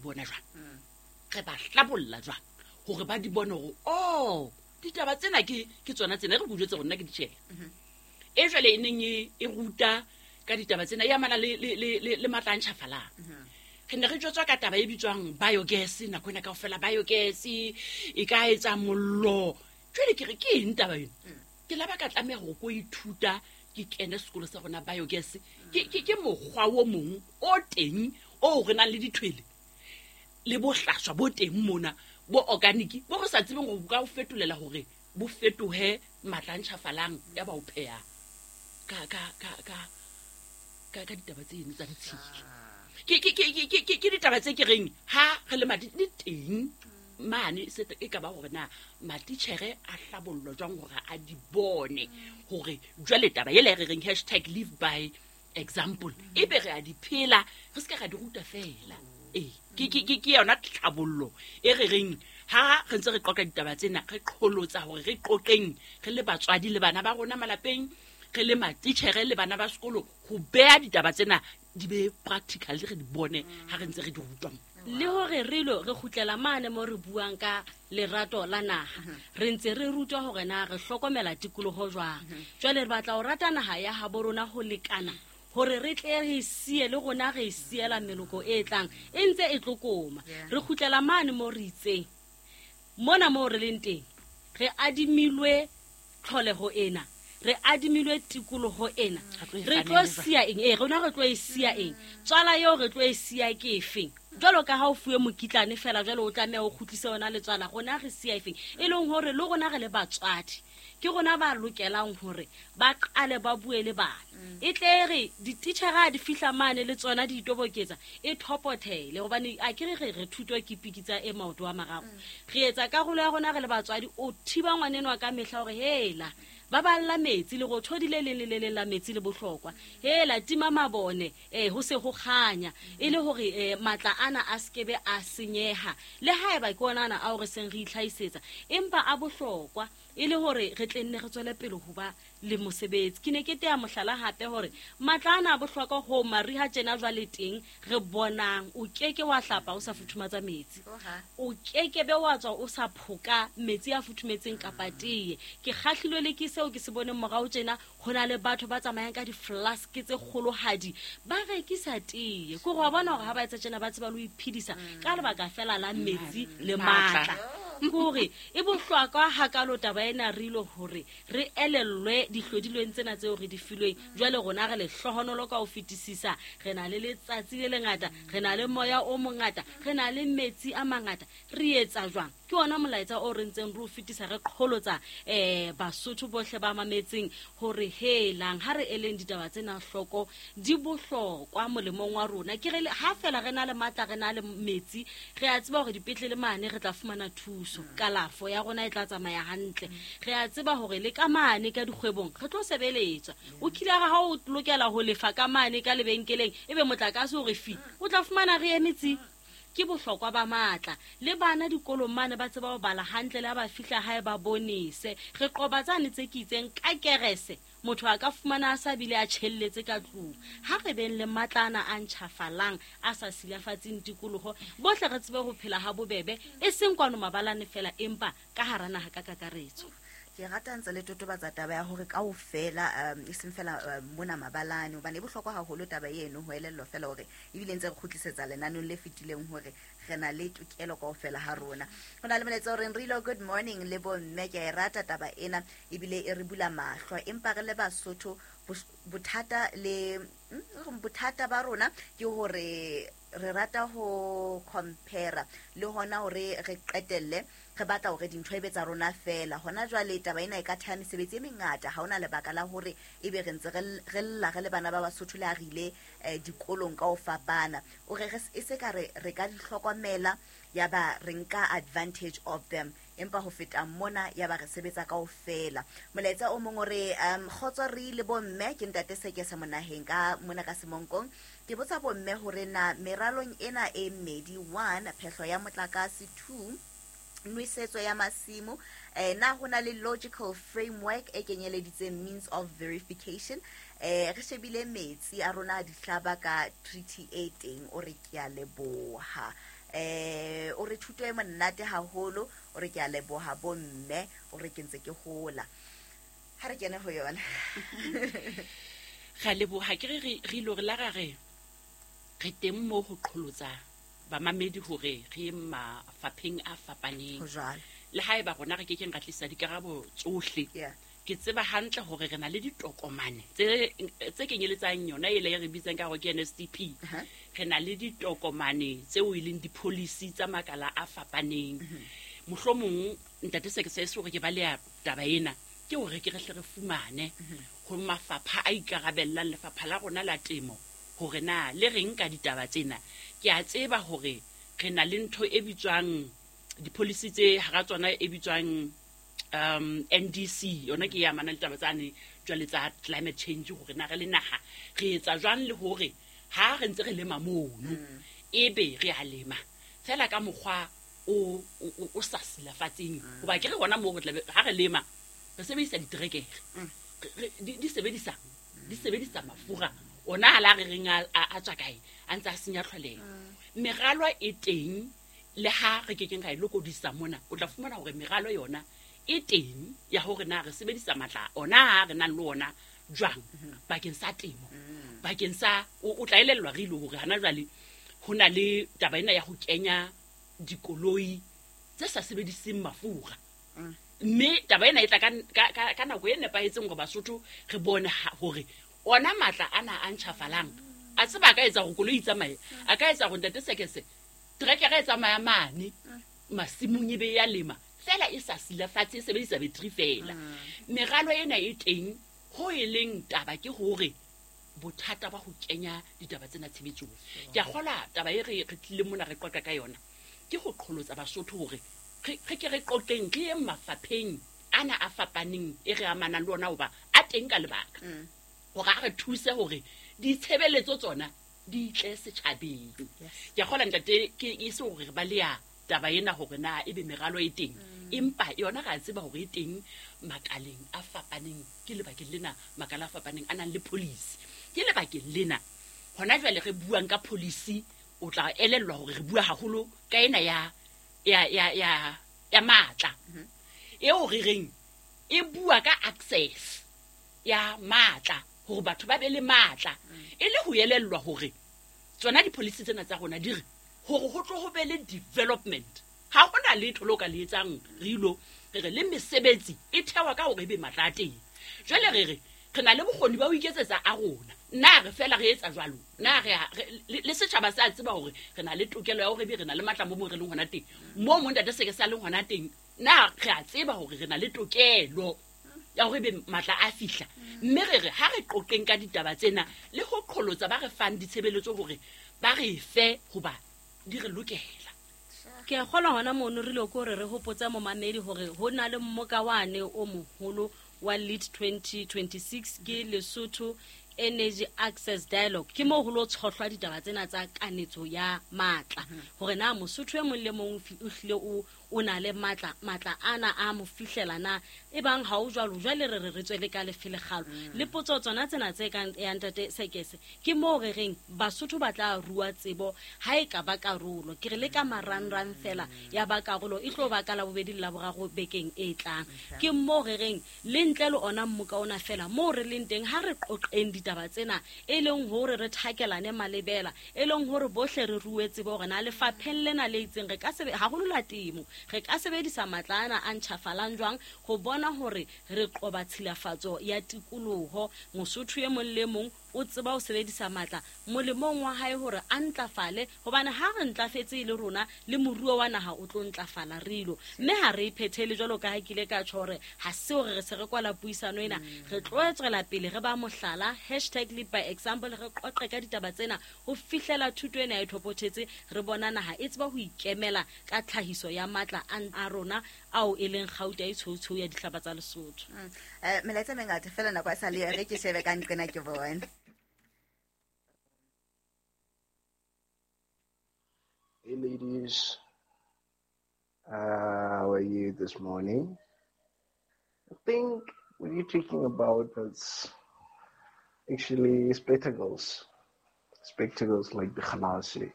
bona jwang re ba hlabolla jwang hore ba di bone hore o ditaba tsena ke tsona tsena re bujetse rona ke ditjhele e jwale e neng e ruta ka ditaba tsena e amana le matla a ntjhafalang. Re ne re jwetswa ka taba e bitswang biogas nako ena kaofela, biogas e ka etsa mollo. Jwale ke re ke eng taba eno? Ke la ba ka tlameha hore ko ithuta ke kene sekolo sa rona biogas. Ke mokgwa o mong o teng o re nang le dithwele le bohlaswa bo teng mona bo organic bo re sa tsebeng hore bo ka o fetolela hore bo fetohe matla a ntjhafalang ya ba o pheha ka ditaba tseno tsa ditshila. Ke ditaba tse ke reng ha re le madi di teng mane se e ka ba hore na matitjhere a hlabollwa jwang hore a di bone hore jwale taba ela e re reng hashtag live by example e be re a di phela, re se ka ra di ruta fela. Ee, ke yona tlhabollo e re reng ha re ntse re qoqa ditaba tsena, re qholotsa hore re qoqeng re le batswadi le bana ba rona malapeng, re le matitjhere le bana ba sekolo, ho beha ditaba tsena di be practical, re di bone ha re ntse re di rutwa. Le hore re lo re kgutlela mane mo re buang ka lerato la naha, re ntse re rutwa hore na re hlokomela tikoloho jwang. Jwale re batla ho rata naha ya habo rona ho lekana hore re tle re siye le rona re siela meloko e tlang e ntse e tlokoma. Re kgutlela mane mo re itseng mona mo re leng teng, re adimilwe tlholeho ena, re adimilwe tikoloho ena, re tlo siya eng? Ee, rona re tlo e siya eng? Tswala eo re tlo e siya ke efeng? Jwalo ka ha o fuwe mokitlane fela, jwale o tlameha o kgutlise yona le tswala, rona re siya efeng? E leng hore le rona re le batswadi ke rona ba lokelang hore ba qale ba bue le bana. E tle re dititjhere ha di fihla mane le tsona di itoboketsa, e thopothele, hobane a ke re thuto ke pikitsa e maoto a mararo. Re etsa karolo ya rona re le batswadi, o thiba ngwaneno ka mehla hore hela ba balla metsi le rothodi le leng le le leng la metsi le bohlokwa, hela tima mabone ho se ho kganya, e le hore matla ana a skebe a senyeha, le haeba ke ona ana ao re seng re itlhahisetsa, empa a bohlokwa e le hore re tle nne re tswele pele ho ba le mosebetsi. Ke ne ke teya mohlala hape hore matla ana a bohlokwa ho mariha tjena jwale teng re bonang o keke wa hlapa o sa futhumatsa metsi, o keke be wa tswa o sa phoka metsi a futhumetseng kapa teye. Ke kgahlilwe le ke seo ke se boneng morao tjena, ho na le batho ba tsamayang ka di-flask tse kgolohadi ba rekisa teye. Ke gore wa bona hore ha ba etsa tjena ba tseba le ho iphedisa ka lebaka fela la metsi le matla. Kore e bohlokwa hakalo taba ena re ilo hore re elellwe dihlodilweng tsena tseo re di filweng. Jwale rona re lehlohonolo ka ho fetisisa, re na le letsatsi le lengata, re na le moya o mongata, re na le metsi a mangata. Re etsa jwang? Ke ona molaetsa o re ntseng re o fetisa, re qholotsa Basotho bohle ba mametseng hore helang ha re eleng ditaba tsena hloko, di bohlokwa molemong wa rona. Ke re ha fela re na le matla, re na le metsi, re a tseba hore dipetlele mane re tla fumana thuso, kalafo ya rona e tla tsamaya hantle. Re a tseba hore le ka mane ka dikgwebong re tlo sebeletswa. O kile ha o lokela ho lefa ka mane ka lebenkeleng, ebe motlakase o re fi, o tla fumana re emetsi. Ke bohlokwa ba matla. Le bana dikolong mane ba tseba ho bala hantle, le ha ba fihla hae ba bonese. Re qoba tsane tse ke itseng ka kerese, motho a ka fumana a sa bile a tjhelletse ka tlung. Ha re beng le matla ana a ntjhafalang, a sa silafatseng tikoloho, bohle re tsebe ho phela ha bobebe, e seng kwano mabalane fela, empa ka hara naha ka kakaretso. Ke rata ntse le totobatsa taba ya hore kaofela, e seng fela mona mabalane, hobane e bohlokwa haholo taba eno ho elellwa fela hore ebile ntse re kgutlisetsa lenaneng le fetileng hore re na le tokelo kaofela ha rona. Ho na le molaetsa o reng re ilo good morning le bomme, ke a e rata taba ena ebile e re bula mahlo, empa re le Basotho bothata le bothata ba rona ke hore re rata ho compare le hona hore re qetelle re batla hore dintho e be tsa rona fela. Hona jwale taba ena e ka theha mesebetsi e mengata, ha hona lebaka la hore ebe re ntse re lla re le bana ba Basotho le ha re ile dikolong ka ho fapana. O re e se ka re ka di hlokomela ya ba re nka advantage of them, empa ho feta mona ya ba re sebetsa kaofela. Molaetsa o mong o re kgotso re le bomme, ke ntate Sekese monaheng ka mona ka Semonkong. Ke botsa bomme hore na meralong ena e mmedi, 1 phehlo ya motlakase, 2 nwesetso ya masimo, na ho na le logical framework e kenyeleditseng means of verification? Re shebile metsi a rona a dihlaba ka treaty e teng, o re ke a leboha. O re thuto e monate haholo, o re ke a leboha bomme, o re ke ntse ke hola. Ha re kene ho yona. Ra leboha ke re re ile re la ra re re teng mo ho qholotsa bamamedi hore re ye mafapheng a fapaneng. Ho jwalo. Le haeba rona re kekeng ra tlisa dikarabo tsohle. Ke tseba hantle hore re na le ditokomane tse kenyeletsang yona e le re bitsang ka hore ke NSDP. Re na le ditokomane tseo e leng di-policy tsa makala a fapaneng. Mohlomong ntate Sekese se hore ke baleha taba ena ke hore ke re hle re fumane ho mafapha a ikarabellang lefapha la rona la temo hore na le reng ka ditaba tsena. Ke a tseba hore re na le ntho e bitswang di-policy tse hara tsona e bitswang NDC, yona ke ya mana le taba tsane jwale tsa climate change hore na re le naha re etsa jwang le hore ha re ntse re lema mono ebe re a lema fela ka mokgwa o sa silafatseng. Hoba ke re hona moo re tlabe ha re lema re sebedisa diterekere, di sebedisa mafura ona a la re reng a tswa kae a ntse a senya tlholeho. Meralo e teng le ha re kekeng ra e lokodisa mona, o tla fumana hore meralo yona e teng ya hore na re sebedisa matla ona a re nang le ona jwang bakeng sa temo, bakeng sa o tla elellwa re ile hore hana jwale ho na le taba ena ya ho kenya dikoloi tse sa sebediseng mafura. Mme taba ena e tla ka nako e nepahetseng hore Basotho re bone hore ona matla ana a ntjhafalang a tseba a ka etsa hore koloi e tsamaye, a ka etsa hore ntate Sekese trekere e tsamaya mane masimong e be ya lema fela e sa silafatse, e sebedisa battery fela. Meralo ena e teng, ho e leng taba ke hore bothata ba ho kenya ditaba tsena tshebetsong. Ke a kgolwa taba e re tlile mona re qoqa ka yona ke ho qholotsa Basotho hore re ke re qoqeng re ye mafapheng ana a fapaneng e re amanang le ona hoba a teng ka lebaka hore a re thuse hore ditshebeletso tsona di tle setjhabeng. Ke a kgolwa ntate ke e se hore re baleha taba ena hore na ebe meralo e teng, empa yona re a tseba hore e teng makaleng a fapaneng. Ke lebakeng lena makala a fapaneng a nang le policy. Ke lebakeng lena hona jwale re buang ka policy, o tla elellwa hore re bua haholo ka ena ya matla eo re reng e bua ka access ya matla hore batho ba be le matla, e le ho elellwa hore tsona di-policy tsena tsa rona di re hore ho tlo ho be le development. Ha hona letho le o ka le etsang re ilo re re le mesebetsi e thewa ka hore ebe matla a teng. Jwale re re re na le bokgoni ba ho iketsetsa a rona, na re fela re etsa jwalo, na re le setjhaba se a tseba hore re na le tokelo ya hore ebe re na le matla mo mo re leng hona teng, mo mo ntate Sekese a leng hona teng, na re a tseba hore re na le tokelo ya hore ebe matla a fihla. Mme re re ha re qoqeng ka ditaba tsena le ho qholotsa ba re fang ditshebeletso hore ba re fe hoba di re lokela. Ke a kgolwa hona mono re ile ko re hopotsa momamedi hore ho na le mmoka wane o moholo wa Lead 2026 ke Lesotho Energy Access Dialogue. Ke moo ho lo tshohlwa ditaba tsena tsa kanetso ya matla hore na Mosotho e mong le mong o hlile o na le matla ana a mo fihlela na e bang ha o jwalo jwale re re tswele ka lefelegalo. Le potso tsona tsena tse kang ya ntate Sekese ke moo re reng Basotho ba tla rua tsebo ha e ka ba karolo. Ke re le ka marangrang fela ya ba karolo e tlo ba ka la bobedi le la boraro bekeng e tlang. Ke moo re reng le ntle le ona mmoka ona fela moo re leng teng ha re qoqeng ditaba tsena e leng hore re thakelane malebela, e leng hore bohle re rue tsebo hore na lefapheng lena le itseng re ka haholo la temo re ka sebedisa matla ana a ntjhafalang jwang ho bona hore re qoba tshilafatso ya tikoloho. Mosotho e mong le mong o tseba ho sebedisa matla molemong wa hae hore a ntlafale, hobane ha re ntlafetse e le rona le moruo wa naha o tlo ntlafala re ilo. Mme ha re iphethele jwalo ka ha ke ile ka tjho hore ha se hore re se re kwala puisano ena, re tlo tswela pele re ba mohlala #lead by example, re qoqe ka ditaba tsena ho fihlela thuto ena e thopothetse, re bona naha e tseba ho ikemela ka tlhahiso ya matla a rona ao e leng kgauta e tshweu ya dihlaba tsa Lesotho. Melaetsa mengata fela nako a sa le re ke shebe ka nqena ke bone. Hey ladies, how are you this morning? I think what you're talking about is actually spectacles. Spectacles like the Khalasi.